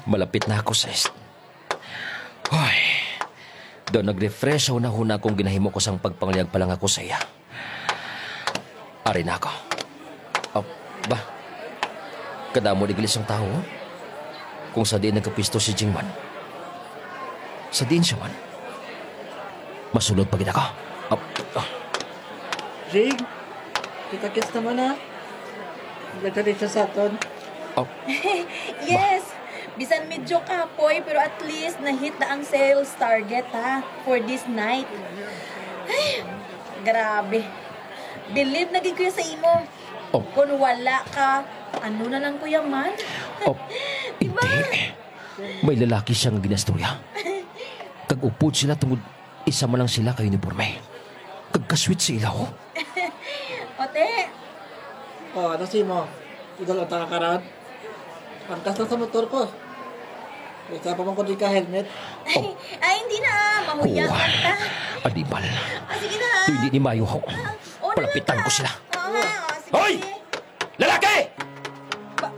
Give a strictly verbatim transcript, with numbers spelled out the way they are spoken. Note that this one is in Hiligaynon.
Malapit na ako, sis. Hoy, daw nag-refresh sa hunahuna kung ginahimo ko sang pagpangliyag pa lang ako sa iya. Ari na ako. Oh, ba? Kadamo di gali sang tawo, oh. Kung sa diin nagkapisto si Jingman. Sa diin siya man? Masulod pa gid ako. Oh, oh. Jing, kita-kits naman ha. Nagkadit siya sa aton. Oh, Yes! Bisan medyo kapoy, pero at least na-hit na ang sales target, ha, for this night. Ay, grabe. Believe na gid ko sa imo. Oh. Kung wala ka, ano na lang ko yaman? Oh, Diba? Hindi. May lalaki siya nga ginastorya. Kag upod sila tungod isa man lang sila ka uniforme. Kag kasweet sa ilaw. Ote, O, ano si mo? Idol ang taka karon? Pangkas lang sa motor ko. Isa pa man ko di ka helmet. ay, ay, hindi na. Mahuya Oh, ka ta. Animal. Ah, sige na. Hindi ni Mayo ho. Oh, Palapitan ko sila. Oo, sige. Hoy! Lalaki!